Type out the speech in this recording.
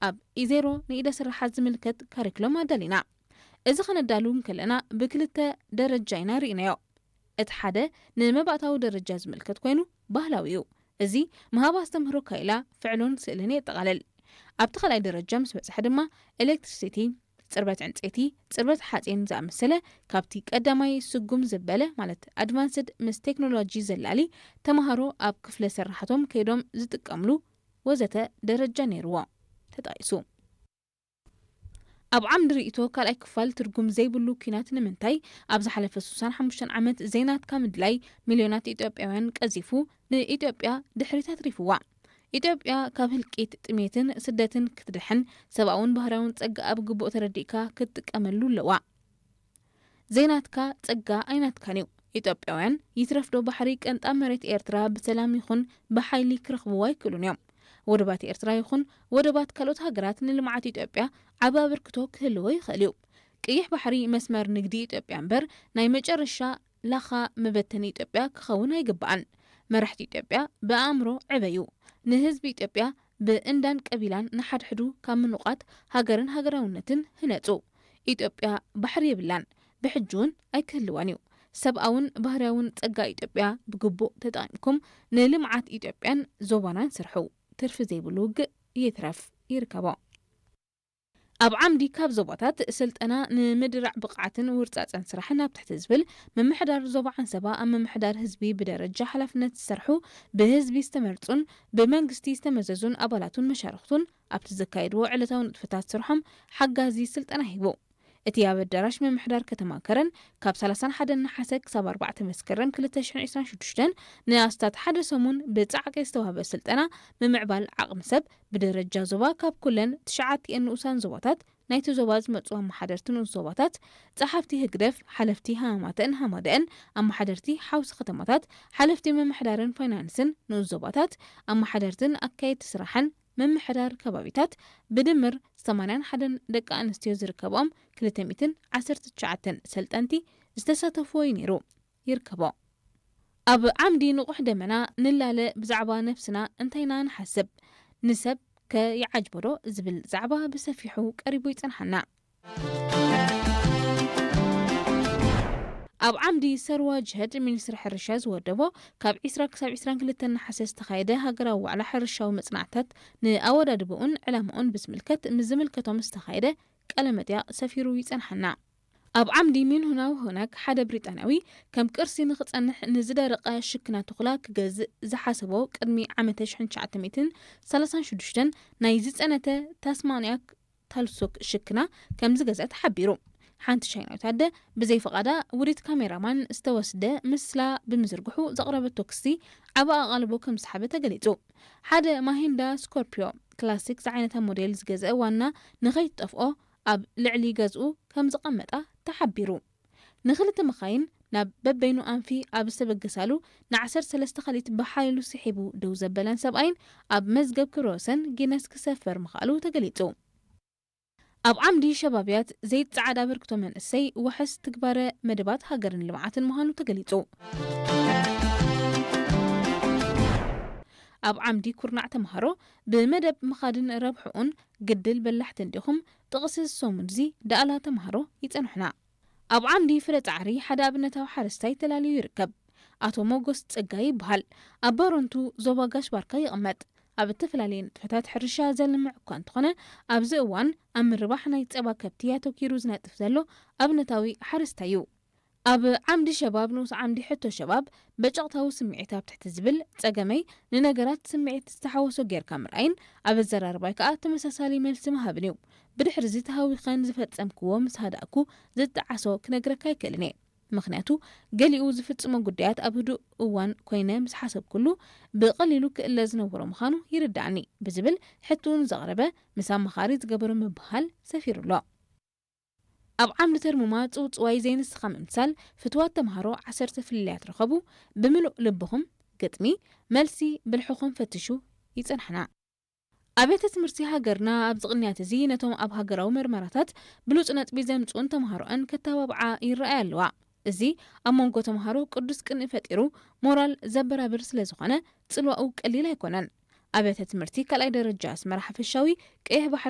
ኣብ ኢዜሮ ንኢደ ስራሓት ዝምልከት ካሪክሎም ኣዳሊና። እዚ ከነዳሉ እንከለና ብክልተ ደረጃ ኢና ርኢናዮ። እቲ ሓደ ንመባእታዊ ደረጃ ዝምልከት ኮይኑ ባህላዊ እዩ። እዚ ምሃብ ኣስተምህሮ ካይላ ፍዕሎን ስእልን የጠቓልል። ኣብቲ ካልኣይ ደረጃ ምስ በጽሐ ድማ ኤሌክትሪሲቲ፣ ጽርበት ዕንጸይቲ፣ ጽርበት ሓጺን ዝኣመሰለ ካብቲ ቀዳማይ ስጉም ዝበለ ማለት ኣድቫንስድ ምስ ቴክኖሎጂ ዘላሊ ተምሃሮ ኣብ ክፍለ ስራሕቶም ከይዶም ዝጥቀምሉ ወዘተ ደረጃ ነይርዎ ተጣይሱ። ኣብ ዓምዲ ርእይቶ ካልኣይ ክፋል ትርጉም ዘይብሉ ኲናት ንምንታይ ኣብ ዝሓለፈ ስሳን ሓሙሽተን ዓመት ዘይናትካ ምድላይ ሚልዮናት ኢትዮጵያውያን ቀዚፉ ንኢትዮጵያ ድሕሪት ኣትሪፍዋ። ኢትዮጵያ ካብ ህልቂት፣ ጥሜትን ስደትን ክትድሕን ሰብኣውን ባህርያውን ጸጋ ኣብ ግቡእ ተረዲእካ ክትጥቀመሉ ኣለዋ። ዘይናትካ ጸጋ ኣይናትካን እዩ። ኢትዮጵያውያን ይትረፍዶ ባሕሪ ቀንጣ መሬት ኤርትራ ብሰላም ይኹን ብሓይሊ ክረኽብዎ ኣይክእሉን እዮም። ወደባት ኤርትራ ይኹን ወደባት ካልኦት ሃገራት ንልምዓት ኢትዮጵያ ዓቢ ኣበርክቶ ክህልዎ ይኽእል እዩ። ቀይሕ ባሕሪ መስመር ንግዲ ኢትዮጵያ እምበር ናይ መጨረሻ ላኻ መበተኒ ኢትዮጵያ ክኸውን ኣይግባኣን። መራሕቲ ኢትዮጵያ ብኣእምሮ ዕበዩ። ንህዝቢ ኢትዮጵያ ብእንዳን ቀቢላን ንሓድሕዱ ካብ ምንቋት ሃገርን ሃገራውነትን ህነጹ። ኢትዮጵያ ባሕሪ የብላን፣ ብሕጂ እውን ኣይክህልዋን እዩ። ሰብኣውን ባህርያውን ጸጋ ኢትዮጵያ ብግቡእ ተጠቒምኩም ንልምዓት ኢትዮጵያን ዞባናን ስርሑ። ትርፊ ዘይብሉ ውግእ ይትረፍ ይርከቦ። ኣብ ዓምዲ ካብ ዞባታት ስልጠና ንምድራዕ ብቕዓትን ውርጻጸን ስራሕን ኣብ ትሕቲ ዝብል ምምሕዳር ዞባ ዓንሰባ ኣብ ምምሕዳር ህዝቢ ብደረጃ ሓላፍነት ዝሰርሑ ብህዝቢ ዝተመርጹን ብመንግስቲ ዝተመዘዙን ኣባላቱን መሻርኽቱን ኣብቲ ዘካየድዎ ዕለታዊ ንጥፈታት ስርሖም ሓጋዚ ስልጠና ሂቡ። እቲ ኣብ ኣዳራሽ ምምሕዳር ከተማ ከረን ካብ ሰላሳን ሓደን ነሓሰ ክሳብ ኣርባዕተ መስከረም ክልተ ሽሕን ዕስራን ሽዱሽተን ንኣስታት ሓደ ሰሙን ብጻዕቂ ዝተዋህበ ስልጠና ምምዕባል ዓቕሚ ሰብ ብደረጃ ዞባ ካብ ኩለን ትሽዓቲኤን ንኡሳን ዞባታት ናይቲ ዞባ ዝመጹ ኣመሓደርቲ ንኡስ ዞባታት፣ ጸሓፍቲ ህግደፍ፣ ሓለፍቲ ሃማማተን ሃማደአን፣ ኣመሓደርቲ ሓውሲ ከተማታት፣ ሓለፍቲ ምምሕዳርን ፋይናንስን ንኡስ ዞባታት፣ ኣመሓደርትን ኣካየድቲ ስራሕን ምምሕዳር ከባቢታት ብድምር ሰማንያን ሓደን ደቂ ኣንስትዮ ዝርከብኦም ክልተ ሚእትን ዓሰርተ ትሽዓተን ሰልጠንቲ ዝተሳተፍዎ እዩ ነይሩ። ይርከቦ። ኣብ ዓምዲ ንቑሕ ደመና ንላለ ብዛዕባ ነፍስና እንታይ ኢና ንሓስብ? ንሰብ ከ ይዓጅቦ ዶ ዝብል ዛዕባ ብሰፊሑ ቀሪቡ ይጸንሓና። ኣብ ዓምዲ ሰርዋ ጅህድ ሚኒስትሪ ሕርሻ ዝወደቦ ካብ ዒስራ ክሳብ ዒስራን ክልተን ነሓሰ ዝተኻየደ ሃገራዊ ዋዕላ ሕርሻዊ መጽናዕትታት ንኣወዳድቦኡን ዕላምኡን ብዝምልከት ምስ ዝምልከቶም ዝተኻየደ ቃለ መጠይቕ ሰፊሩ ይጸንሓና። ኣብ ዓምዲ ሚንሁናው ሆናክ ሓደ ብሪጣንያዊ ከም ቅርሲ ንኽጸንሕ ንዝደረቐ ሽክና ተኹላ ክገዝእ ዝሓሰቦ ቅድሚ ዓመተ ሽሕን ትሽዓተ ሚእትን ሰላሳን ሽዱሽተን ናይ ዝጸነተ ታስማንያክ ታልሶክ ሽክና ከም ዝገዝአ ተሓቢሩ። ሓንቲ ቻይናዊት ኣደ ብዘይ ፍቓዳ ውሪት ካሜራማን ዝተወስደ ምስላ ብምዝርግሑ ዘቕረበቶ ክሲ ዓቢ ኣቓልቦ ከም ዝሰሓበ ተገሊጹ። ሓደ ማሂንዳ ስኮርፒዮ ክላሲክ ዝዓይነታ ሞዴል ዝገዝአ ዋና ንኸይትጠፍኦ ኣብ ልዕሊ ገዝኡ ከም ዝቐመጣ ተሓቢሩ። ንኽልተ መኻይን ናብ በበይኑ ኣንፊ ኣብ ዝተበገሳሉ ንዓሰርተ ሰለስተ ካልኢት ብሓይሉ ስሒቡ ደው ዘበለን ሰብኣይን ኣብ መዝገብ ክብረ ወሰን ጊነስ ክሰፈር ምኽኣሉ ተገሊጹ። ኣብ ዓምዲ ሸባብያት ዘይጸዓድ ኣበርክቶ መንእሰይ ዋሕስ ትግባረ መደባት ሃገርን ልምዓትን ምዃኑ ተገሊጹ። ኣብ ዓምዲ ኩርናዕ ተምሃሮ ብመደብ ምኻድን ረብሕኡን ግድል በላሕቲ እንዲኹም ጥቕሲ ሰሙንዚ ደኣላ ተምሃሮ ይጸንሑና። ኣብ ዓምዲ ፍረ ጻዕሪ ሓደ ኣብነታዊ ሓረስታይ ተላልዩ ይርከብ። ኣቶ ሞጎስ ጸጋይ ይበሃል። ኣብ ባረንቱ ዞባ ጋሽ ባርካ ይቕመጥ። ኣብ እተፈላለየ ንጥፈታት ሕርሻ ዘልምዕ እኳ እንተኾነ፣ ኣብዚ እዋን ኣብ ምርባሕ ናይ ጸባ ከብቲ ኣተኪሩ ዝነጥፍ ዘሎ ኣብነታዊ ሓረስታይ እዩ። ኣብ ዓምዲ ሸባብ ንኡስ ዓምዲ ሕቶ ሸባብ በጨቕታዊ ስምዒት ኣብ ትሕቲ ዝብል ጸገመይ ንነገራት ስምዒት ዝተሓወሶ ጌርካ ምርኣይን ኣብ ኣዘራርባይ ከኣ ተመሳሳሊ መልሲ ምሃብን እዩ። ብድሕሪ እዚ ተሃዊኸን ዝፈጸምክዎ ምስ ሃዳእኩ ዝጠዓሶ ክነግረካ ኣይክእልን እየ። ምኽንያቱ ገሊኡ ዝፍጽሞ ጉዳያት ኣብ ህዱእ እዋን ኮይነ ምስ ሓሰብኩሉ ብቐሊሉ ክእለ ዝነበሮ ምዃኑ ይርድኣኒ ብዝብል ሕትኡ ንዘቕረበ ምስ ኣማኻሪ ዝገበሮ ምብህሃል ሰፊሩ ኣሎ። ኣብ ዓምዲ ተርሙማ ጽውጽዋይ ዘይንስኻ ምምሳል ፍትዋት ተምሃሮ ዓሰርተ ፍልልያት ረኸቡ። ብምሉእ ልብኹም ግጥሚ መልሲ ብልሕኹም ፈትሹ ይጸንሕና። ኣብያተ ትምህርቲ ሃገርና ኣብዚ ቅንያት እዚ ነቶም ኣብ ሃገራዊ መርመራታት ብሉጽ ነጥቢ ዘምጽኡን ተምሃሮኣን ከተባብዓ ይረኣያ ኣለዋ። እዚ ኣብ መንጎ ተምሃሮ ቅዱስ ቅንኢ ፈጢሩ ሞራል ዘበራብር ስለ ዝኾነ ጽልዋኡ ቀሊል ኣይኮነን። ኣብያተ ትምህርቲ ካልኣይ ደረጃ ኣስመራ ሓፈሻዊ ቀይሕ ባሕሪ